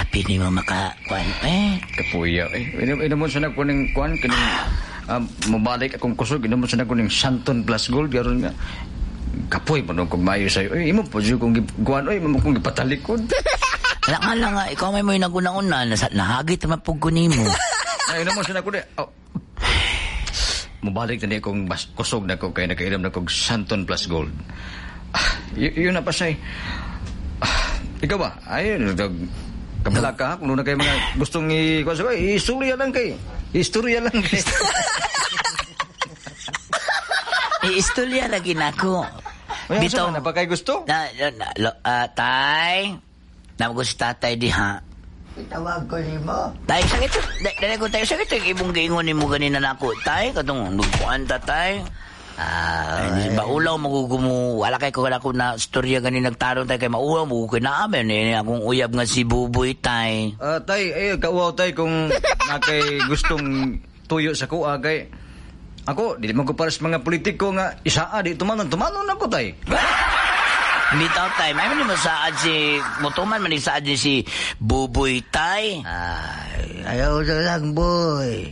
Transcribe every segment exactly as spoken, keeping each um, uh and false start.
Happy ni mo maka kuan eh. Kapuya eh. Inom inomon sa nagko ning kuan kining um, mobalik akong kusog, inomon sa nagko ning Santon Plus Gold karon nga. Kapoy mo nung kung mayo sa'yo. Eh, imo po kung kuan oy, imo kong gipatalikod. Wala nga lang nga, ikaw may mo yung naguna-una, nasa, nahagit naman po ko nimo. Ay, inomon sa nagko ni. Oh. Mobalik na ni akong bas, kusog na ko kay nakainom na kog Santon Plus Gold. Ah, y- yun na pasay. Ah, ikaw ba? Ay, nag kabala ka kung na kayo mga gustong i kuan sa istorya lang kay. Istorya lang kay. Iistorya lagi nako. Ay, unsa man, na ba kay gusto? Na, na, na, lo, ah, tay. Namo si tatay diha. Itawag ko nimo. Tay, sakit. Dali ko tayo sakit yung ibong giingon nimo ganina nako. Tay, katong nagkuan ta tay. Ah, Ay, di ba ulaw magugumo wala kay ko wala ko na storya gani nagtarong tay kay maulaw magugumo na amin eh akong uyab nga si Buboy tay. Ah, tay, eh, kauwaw tay kung nakay gustong tuyo sa kuha kay ako, dili man ko para sa mga politiko nga isaa di tumanon, tumanon ako tay. Bitaw tay, may man mo saad si mutuman man ni saad ni si Buboy tay. Ay, ayaw na lang, boy.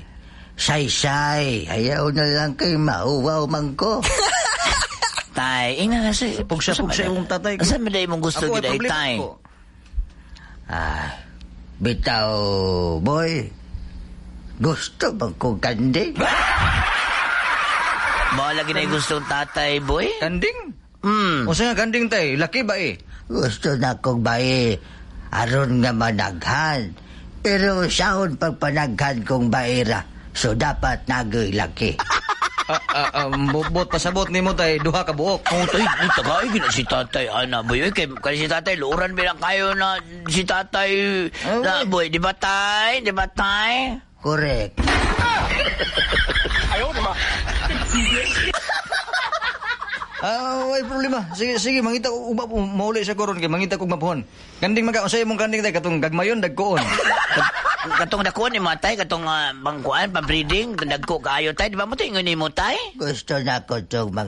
Say-say, ayaw na lang kay mauwaw man ko. Tay, ina na si Pugsa-pugsa imong tatay. Asa man day imong gusto Ako, gid ay ay problema tay? ko. Ah, bitaw, boy. Gusto bang kong kanding? Mao lagi na gustong tatay, boy. Kanding? Hmm. O nga kanding tay, laki ba eh? Gusto na kong bae, aron nga managhan. Pero sahon pagpanaghan kong baera, so dapat nagoy laki. Ah, ah, ah, bot pasabot nimo tay, duha ka buok. Oh, tay, uy, tagay gina si tatay, ana, boy. Uy, kay, kay si tatay, luuran bilang kayo na si tatay, na, boy, di ba tay? Di ba tay? Correct. Ah, way problema. Sige, sige, mangita ko uba mauli sa koron kay mangita kog mapuhon. Kanding maga unsay imong kanding tay katong gagmayon dagkoon. Katong dako ni matay, katong uh, bangkuan, pabreeding, dagko kaayo tay, di ba mo to ingon nimo tay? Gusto na ko itong mga